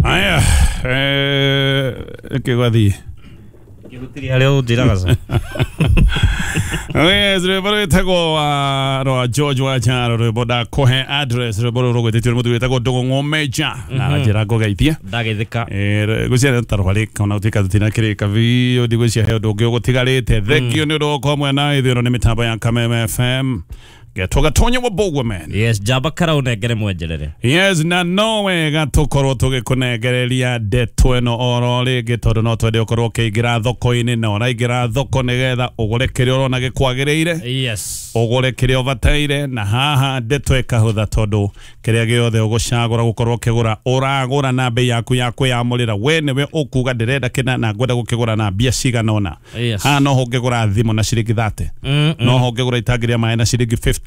Aya, kĩgwathiĩ. Gĩgũtirĩ harĩa ũnjĩraga ca. Yes, rwĩmbo rwĩtagwo rwa George Wacharo, rwĩmbo ndakũhe address, rwĩmbo rũrũ rũgwĩtĩtio nĩ mũthuri wĩtagwo Ndũgũ Ng'omeja na aranjĩra ngũgeithie. Ndageithĩka. Ngwĩciria ta rwarĩka ona gũtuĩka tũtinakĩrĩka biũ, ndigwĩciria he ũndũ ũngĩ ũgũtigarĩte. Thengio nĩ ũndũ wa gũkorwo mwena ithuĩ, ĩno nĩ mĩtambo ya Kameme FM. Getwo Gatonyo wa Bogwe man. Yes, njamba karaũnengere mwenjerere. Yes, na no wega tũkorwo tũgĩkũnengereria ndeto ĩno oro rĩngĩ, tondũ no twende ũkorwo ũkĩingĩra thoko-inĩ, na ũraingĩra thoko nĩgetha ũgũre kĩrĩa ũrona gĩkwagĩrĩire, ũgũre kĩrĩa ũbataire, na haha ndeto ĩkahũtha tondũ kĩrĩa gĩothe ũgũcagũra gũkorwo ũkĩgũra, ũragũra na bei yaku ya kwĩyamũrĩra. We nĩwe ũkuga ndĩrenda kĩna na ngwenda gũkĩgũra na mbia cigana ũna. Haha no ũngĩgũra thimũ na ciringi 30, no ũngĩgũra itangi rĩa maĩ na ciringi 15.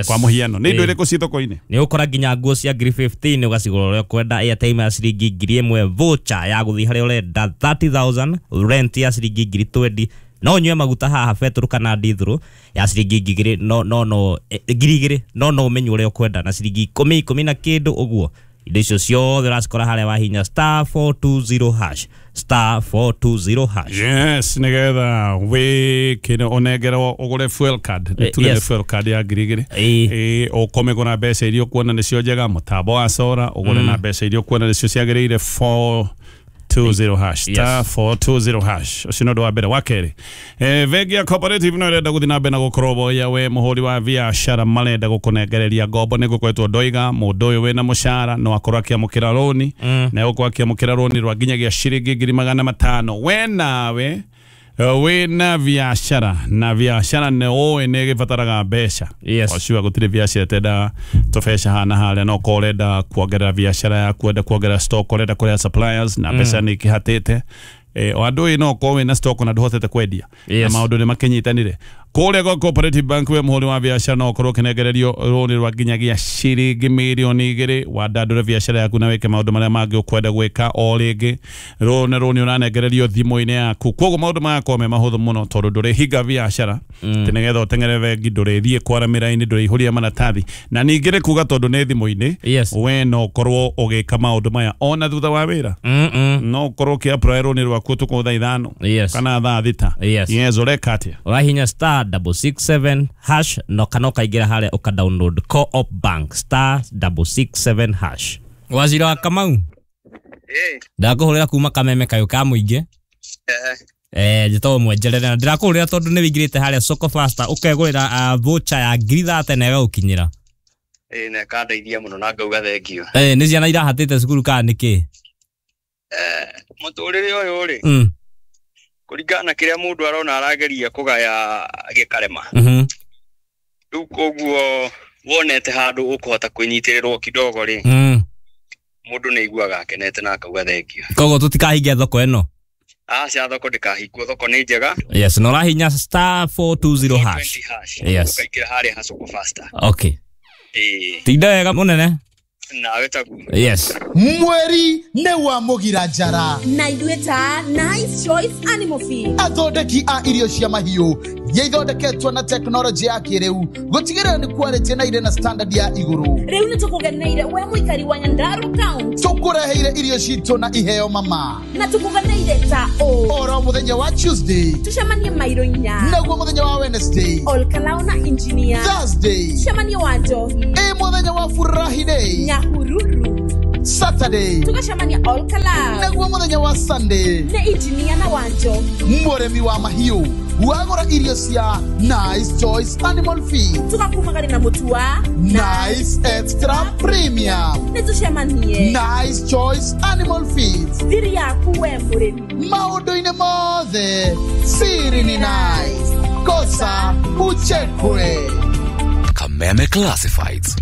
Kwa mũhiano, nĩ indo irĩkũ ci thoko-inĩ? Nĩ ũkora nginya nguo cia ngiri 15 ũgacigũra ũrĩa ũkwenda, airtime ya ciringi 1000, voucher ya gũthiĩ harĩa ũrenda 30,000, rent ya ciringi ngiri 20, no ũnyue maguta haha betũrũ kana ndithũrũ ya ciringi 2,000, no no no 2,000, no no ũmenye ũrĩa ũkwenda na ciringi 10, 10 na kĩndũ ũguo. Indo icio ciothe ũracikora harĩa wahinya star 420 hash, star 420 hash. Yes, nĩgetha wĩkĩre ũnengerwo ũgũre fuel card. Nĩ tuge nĩ fuel card ya 2,000. Ũkũmĩgũra mbeca iria ũkuona nĩcio njega, mũtambo wa sora ũgũre na mbeca iria ũkuona nĩcio ciagĩrĩire, 420 hash, star 420 hash. Ũcio nĩ ũndũ wa mbere. Wa kerĩ, bengi ya Cooperative no ĩrenda gũthiĩ na mbere na gũkũrũmbũiya we mũhũri wa biacara, marenda gũkũnengereria ngombo. Nĩ gũkoretwo ndoiga mũndũ ũyũ wĩna mũcara no akorwo akĩamũkĩra rũni, na egũkorwo akĩamũkĩra rũni rwa nginyagia ciringi 500,000. We nawe wĩna biacara, na biacara nĩ ũĩ nĩ ĩgĩbataraga mbeca. Ũcio gũtirĩ biacara ĩtenda tũbeca haha na harĩa, no korwo ũrenda kuongerera biacara yaku, ũrenda kuongerera stock, ũrenda kũrĩha suppliers na mbeca nĩ ikĩhatĩte. O andũ ĩ no korwo wĩna stock na ndũhotete kwendia, na maũndũ nĩ makĩnyitanire kũrĩa gwa Cooperative Bank. We mũhũri wa biacara no ũkorwo ũkĩnengererio rũni rwa nginyagia ciringi 2,000,000, wandandũre biacara yaku na wĩke maũndũ marĩa mangĩ ũkwenda gwĩka. O rĩngĩ rũni rũni ũranengererio thimũ-inĩ yaku, koguo maũndũ magakorwo me mahũthũ mũno, tondũ ndũrĩhinga biacara atĩ nĩgetha ũteng'ere bengi, ndũrĩthiĩ kwara mĩraini, ndũrĩihũria maratathi, na ningĩ nĩ kuga tondũ nĩ thimũ-inĩ, we no ũkorwo ũgĩka maũndũ maya ona thutha wa wĩra. No ũkorwo ũkĩ-apply rũni rwaku ũtukũ thaa 5 kana thaa 6. Yes, ũreka atĩa? Ũrahinya star 667 hash, no kana ũkaingĩra harĩa ũka download Co-op Bank, star 667 hash. Wazira wa Kamau, ndakũhũrĩra kuma Kameme kayũ ka mũingĩ. Njĩtagwo Mwenjerere na ndĩrakũhũrĩra tondũ nĩ wĩingĩrĩte harĩa Soko Faster ũkegũrĩra voucher ya ngiri 30 na ĩgagũkinyĩra. Na ĩkandeithia mũno na ngauga thengio. Nĩ ciana irahatĩte cukuru kana nĩkĩ? Mũtũrĩre ũyũ rĩ, kũringana na kĩrĩa mũndũ arona arageria kũgaya gĩkarema. Rĩu koguo wonete handũ ũkũhota kwĩnyitĩrĩrwo kidogo rĩ, mũndũ nĩ aiguaga akenete na akauga thengio. Koguo tũtikahinge thoko ĩno? Aca, thoko ndĩkahingwo, thoko nĩ njega. Yes, na ũrahinya star 420 hash. 420 hash. Yes. Ũkaingĩra harĩa ha Soko Faster. Okay. Tinda wega mũnene. Nawe taguo. Yes. Mweri nĩ wa mũgira njara, na ithuĩ ta Nice Choice Animal Feed, athondeki a irio cia mahiũ iria ithondeketwo na tekinoronjĩ ya kĩrĩu gũtigĩrĩra nĩ quality na irĩ na standard ya igũrũ. Rĩu nĩ tũkũgeneire we mũikari wa Nyandarua County. Tũkũreheire irio citũ na iheo mama. Na tũkũgeneire ta ũ? Oro mũthenya wa Tuesday tũcemanie mairo 4, naguo mũthenya wa Wednesday Olkalao na engineer, Thursday tũcemanie wa Njohi, ĩ mũthenya wa Furahi Day Nyahururu, Saturday tũgacemania Olkalao, naguo mũthenya wa Sunday nĩ engineer na wa Njohi. Mũrĩmi wa mahiũ wagũra irio cia Nice Choice Animal Feed, tũgakumagari na mũtu wa Nice Extra Premium. Nĩ tũcemanie Nice Choice Animal Feed, thiri yaku we mũrĩmi. Maũndũ-inĩ mothe siri ni nice, kosa uchekwe. Kameme Classifieds.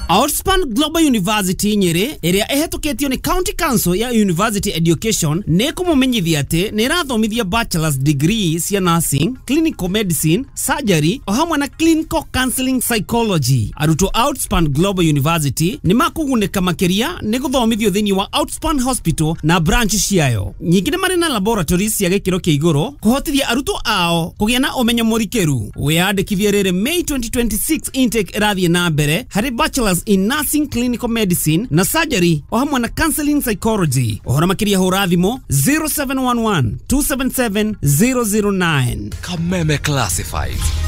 Outspan Global University Nyeri, ĩrĩa ĩhetũkĩtio nĩ County Council ya University Education, nĩ kũmũmenyithia atĩ nĩ ĩrathomithia bachelor's degree cia nursing, clinical medicine, surgery o hamwe na clinical counseling psychology. Arutwo Outspan Global University nĩ makũgunĩka makĩria nĩ gũthomithio thĩinĩ wa Outspan Hospital na branch ciayo. Nyingĩ nĩ marĩ na laboratories cia gĩkĩro kĩa igũrũ kũhotithia arutwo ao kũgĩa na ũmenyo mũrikĩru. Wĩyandĩkithie rĩrĩ May 2026 intake ĩrathiĩ na mbere harĩ bachelor's Masters in Nursing Clinical Medicine na Surgery o hamwe na Counseling Psychology. Ũhoro makĩria hũra thimũ 0711 277 009. Kameme Classifieds.